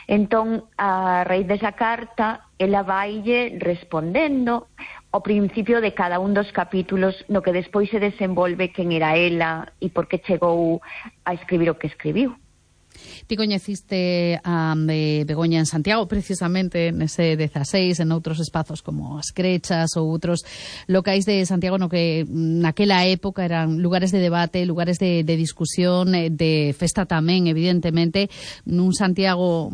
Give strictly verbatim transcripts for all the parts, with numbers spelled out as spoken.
Entón, a raíz desa carta, ela vaille respondendo ao principio de cada un dos capítulos no que despois se desenvolve quen era ela e por que chegou a escribir o que escribiu. Ti coñeciste a eh, Begoña en Santiago, precisamente nese dezaseis, en outros espazos como as Crechas ou outros locais de Santiago no que naquela época eran lugares de debate, lugares de, de discusión, de festa tamén, evidentemente, nun Santiago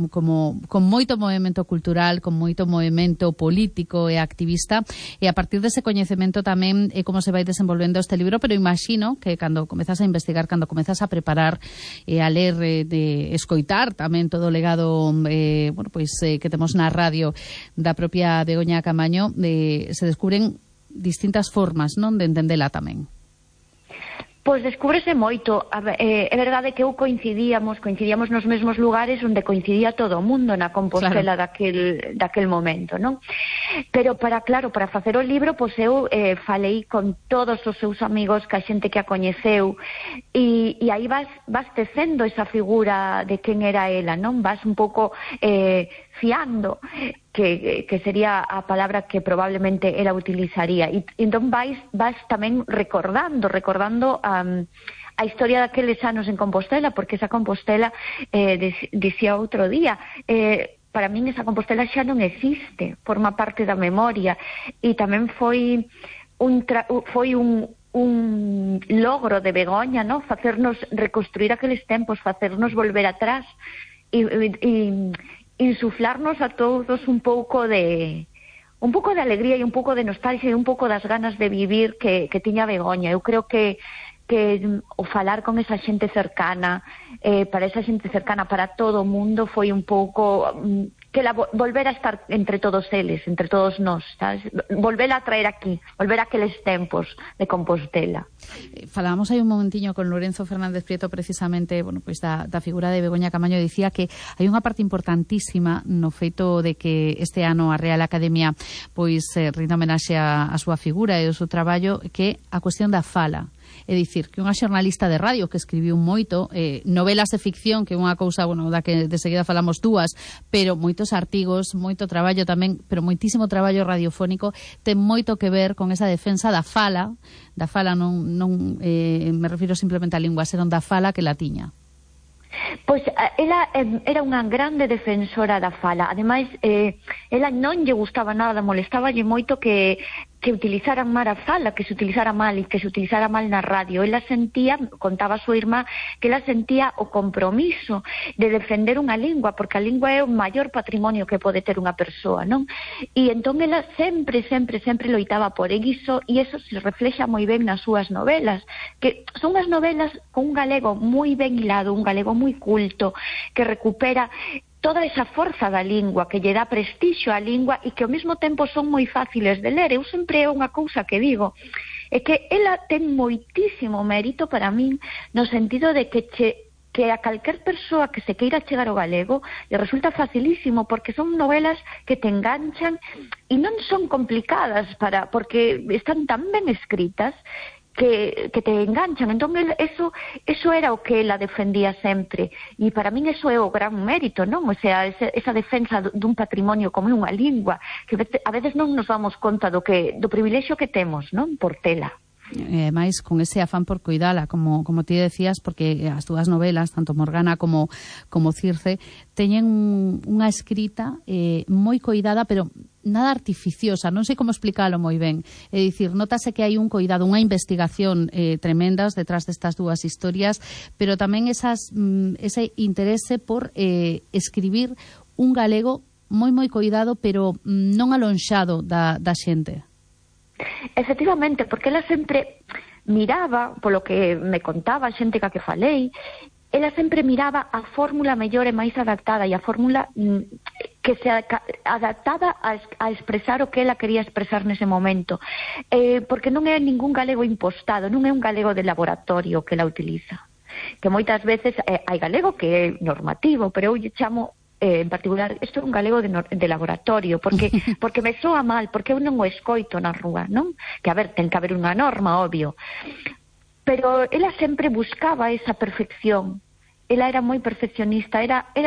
como con moito movimento cultural, con moito movimento político e activista, e a partir dese coñecemento tamén é como se vai desenvolvendo este libro, pero imagino que cando comezas a investigar, cando comezas a preparar e a ler, de escoitar tamén todo o legado eh, bueno, pois, eh, que temos na radio da propia Begoña Camaño, eh, se descubren distintas formas, non, de entendela tamén. Pois descúbrese moito. É verdade que eu coincidíamos, coincidíamos nos mesmos lugares onde coincidía todo o mundo na Compostela, claro, daquel, daquel momento, non? Pero para, claro, para facer o libro, pois eu eh, falei con todos os seus amigos, que a xente que a coñeceu, e, e aí vas, vas tecendo esa figura de quen era ela, non? Vas un pouco eh, fiando, que, que sería a palabra que probablemente ela utilizaría. E entón vais, vas tamén recordando, recordando um, a historia daqueles anos en Compostela, porque esa Compostela, eh, dicía outro día, eh, para min esa Compostela xa non existe, forma parte da memoria, e tamén foi un, tra foi un, un logro de Begoña, ¿no? Facernos reconstruir aqueles tempos, facernos volver atrás, e, e, insuflarnos a todos un pouco de un pouco de alegría e un pouco de nostalgia e un pouco das ganas de vivir que, que tiña Begoña. Eu creo que que o falar con esa xente cercana, eh, para esa xente cercana, para todo o mundo, foi un pouco um, que la volver a estar entre todos eles, entre todos nós, sabes? Volver a traer aquí, volver a aqueles tempos de Compostela. Falábamos aí un momentiño con Lorenzo Fernández Prieto, precisamente, bueno, pois da, da figura de Begoña Camaño. Dicía que hai unha parte importantísima no feito de que este ano a Real Academia pois eh, rinda homenaxe a, a súa figura e o seu traballo, que a cuestión da fala. É dicir, que unha xornalista de radio que escribiu moito, eh, novelas de ficción, que é unha cousa, bueno, da que de seguida falamos dúas, pero moitos artigos, moito traballo tamén, pero moitísimo traballo radiofónico, ten moito que ver con esa defensa da fala, da fala non, non eh, me refiro simplemente á lingua, senón da fala que la tiña. Pois ela eh, era unha grande defensora da fala. Ademais, eh, ela non lle gustaba nada, molestáballe moito que que utilizaran mal a fala, que se utilizara mal e que se utilizara mal na radio. Ela sentía, contaba a súa irmá, que ela sentía o compromiso de defender unha lingua, porque a lingua é o maior patrimonio que pode ter unha persoa, non? E entón ela sempre, sempre, sempre loitaba por iso, e eso se reflexa moi ben nas súas novelas, que son unhas novelas con un galego moi ben hilado, un galego moi culto, que recupera toda esa forza da lingua, que lle dá prestixio á lingua e que ao mesmo tempo son moi fáciles de ler. Eu sempre é unha cousa que digo, é que ela ten moitísimo mérito para min, no sentido de que che que a calquer persoa que se queira chegar ao galego lle resulta facilísimo, porque son novelas que te enganchan e non son complicadas, para porque están tan ben escritas que, que te enganchan. Entón, eso, eso era o que ela defendía sempre, e para min eso é o gran mérito, non? O sea, esa, esa defensa dun patrimonio como unha lingua, que a veces non nos damos conta do que do privilexio que temos, non? Por tela. E máis con ese afán por cuidala, como como ti decías, porque as túas novelas, tanto Morgana como como Circe, teñen unha escrita eh, moi coidada, pero nada artificiosa, non sei como explicalo moi ben. É dicir, notase que hai un coidado, unha investigación eh, tremendas detrás destas dúas historias, pero tamén esas, mm, ese interese por eh, escribir un galego moi moi coidado, pero mm, non alonxado da, da xente. Efectivamente, porque ela sempre miraba, polo que me contaba a xente ca que falei, ela sempre miraba a fórmula mellor e máis adaptada, e a fórmula que se adaptada a, a expresar o que ela quería expresar nese momento, eh, porque non é ningún galego impostado, non é un galego de laboratorio que ela utiliza, que moitas veces eh, hai galego que é normativo, pero eu lle chamo Eh, en particular, isto é un galego de, no, de laboratorio, porque porque me soa mal, porque eu non o escoito na rúa, non? Que, a ver, ten que haber unha norma, obvio. Pero ela sempre buscaba esa perfección. Ela era moi perfeccionista, era, era